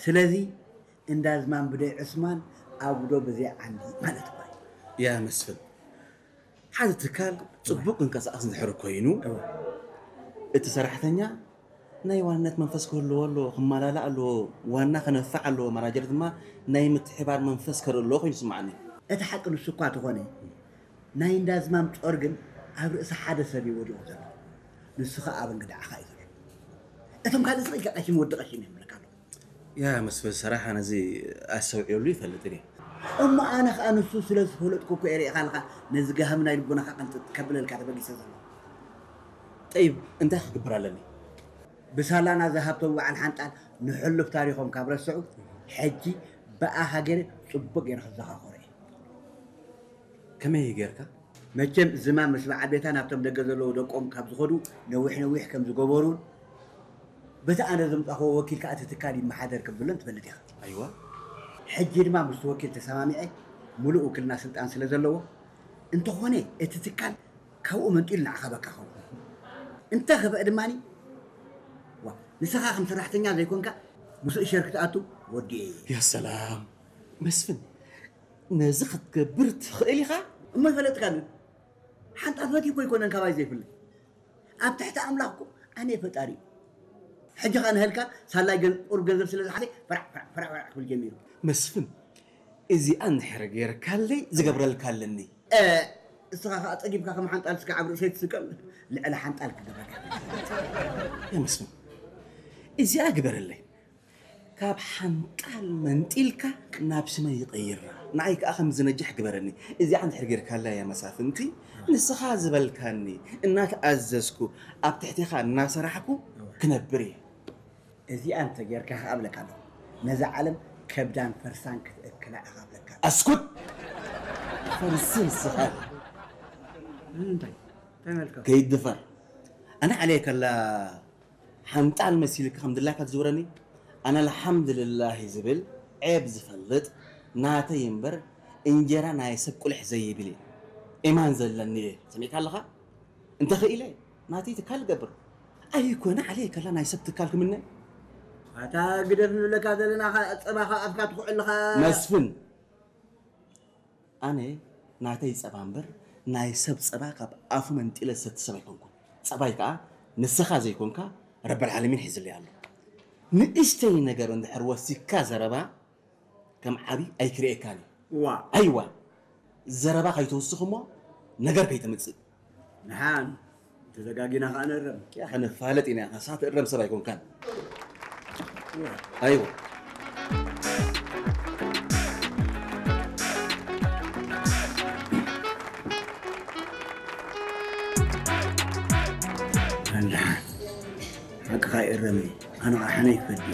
ስለዚ እንዳ ዝማም ብደይ ዕስማን ኣጉዶ ብዘይ ዓንዲ ማለት እኮ እዩ። ያ መስፍን፣ ሓደ ትካል ጽቡቕ ክንቀሳቐስ እንድሕር ኮይኑ፣ እቲ ሰራሕተኛ ናይ ዋንነት መንፈስ ክህልዎ ኣለዎ፣ ክመላላእ ኣለዎ፣ ዋና ክነፍዕ ኣለዎ፣ ማናጀር ድማ ናይ ምትሕባር መንፈስ ከርኢ ኣለዎ ኮይኑ ይስምዓኒ። እቲ ሓቂ ንሱ እኳ ተኾነ፣ ናይ እንዳ ዝማም ጾር ግን ኣብ ርእሲ ሓደ ሰብ እዩ ወዲቑ ዘሎ። ንሱ ኸኣ ኣብ እንግድዓኻ እዩ ዘሎ። እቶም ካልእ ስቕ ኢልካ ቀሺ ወዲ ቀሺ እዮም ይብለካ ኣለዉ። ያ መስፍን ሰራሓ ነዚ ኣስተውዒሉ ይፈልጥን እየ። እሞ ኣነ ኸኣ ንሱ ስለ ዝፈለጥኩ እኮ እየ ርኢኻ ኣለኻ ነዚ ጋህሚ ናይ ልቦናኻ ቅንጥጥ ከብለልካ ተበጊሰ ዘሎ። ጠይብ እንታይ ክግብር ኣለኒ? ብሳላና ዝሃብቶም በዓል ሓንጣል ንሕሉፍ ታሪኾም ካብ ረስዑ፣ ሕጂ ብኣኻ ገይረ ጽቡቕ ገይረ ክዘኻኸሮ እየ። ከመይ ጌርካ? መቸም ዝማም ምስ በዓል ቤታ ናብቶም ደገ ዘለዉ ደቆም ካብ ዝኸዱ ነዊሕ ነዊሕ ከም ዝገበሩን በቲ ኣነ ዘምጻኽዎ ወኪል ከኣ እቲ ትካል ይመሓደር ከም ዘሎን ትፈልጥ ኢኻ። ኣይዋ። ሕጂ ድማ ምስቲ ወኪል ተሰማሚዐ፣ ምሉእ ውክልና ስልጣን ስለ ዘለዎ፣ እንተኾነ እቲ ትካል ካብኡ መንጢሉ ንዓኻ በካ ኸውን። እንተ ኸፍአ ድማ፣ ዋ፣ ንስኻ ከም ሰራሕተኛ ዘይኮንካ ምስኡ ሸር ክትኣቱ ወዲኤ እየ። ያ ሰላም መስፍን፣ ነዚ ክትገብር ትኽእል ኢኻ። እሞ ይፈለጥካ ግን ሓንጣ ፈትዩ እኮ ኣይኮነን ካባይ ዘይፍለ ኣብ ትሕቲ ኣምላኽ እኮ ኣነ ፈጣሪ እዩ። ሕጂ ኸኣ ንህልካ ሳላይ ገን- ቁሩብ ገንዘብ ስለ ዝሓዘ ፈራዕ ፈራዕ ፈራዕ ፈራዕ ክብል ጀሚሩ። መስፍን፣ እዚኣ እንድሕር ጌርካለይ ዝገብረልካ ኣለኒ። እ፣ እስኻ ኸኣ ጸጊብካ ከም ሓንጣል ስጋዕ ኣብ ርእሰይ ትስቀል ልዕሊ ሓንጣል ክገብረካ። ያ መስፍን፣ እዚኣ ግበረለይ። ካብ ሓንጣል መንጢልካ ናብ ስመይ ይቐይራ። ንዓይ ከኣ ከም ዝነጅሕ ግበረኒ። እዚኣ እንድሕር ጌርካላ እያ መሳፍንቲ፣ ንስኻ ዝበልካኒ እናተኣዘዝኩ ኣብ ትሕቴኻ እናሰራሕኩ ክነብር እየ። እዚኣ እንተ ጌርካ ከኣ እብለካ ኣለኹ፣ ነዛ ዓለም ከብዳን ፈርሳን ክትእክላ ኢኻ እብለካ ኣለኹ። ኣስኩት! ፈርሲ ንስኻ ኢኻ። እንታይ? እንታይ መልካ? ከይድፈር። ኣነ ዓለየ ከላ ሓንጣል መሲልካ ከም ድላይካ ትዝውረኒ? ኣነ ኣልሓምድልላሂ ዝብል ዔብ ዝፈልጥ ናተይ እምበር እንጀራ ናይ ሰብ ቁልሕ ዘይብል እየ። ኢማን ዘለኒ እየ። ሰሚዕካ ኣለኻ? እንተኽኢለ ናተይ ትካል እገብር። ኣይኮነ ዓለየ ከላ ናይ ሰብ ትካል ክምነ። ኣታ ግደፍ ንብለካ ዘለና ኸ ጸባኻ ኣፍካ ትኹዕ ኣለኻ። መስፍን ኣነ ናተይ ጸባ እምበር ናይ ሰብ ጸባ ካብ ኣፉ መንጢለ ዝሰቲ ሰብ ኣይኮንኩን። ጸባይ ከኣ ንስኻ ዘይኮንካ ረበል ዓለሚን ሒዝለይ ኣሎ። ንእሽተይ ነገር እንድሕር ወሲካ ዘረባ ከም ዓቢ ኣይክርእየካን እዩ። ዋ ኣይዋ ዘረባ ከይትውስኽ እሞ ነገር ከይተምጽእ። ንሓን ተዘጋጊና ከኣ ንእረም። ያኸ ንፋለጥ ኢና፣ ንስኻ ትእረም ሰብ ኣይኮንካን። ኣይዋ። ኣንድሓን ሓቅኻ ይእረም እዩ። ኣነ ኸዓ ሓነ ይፈዲ።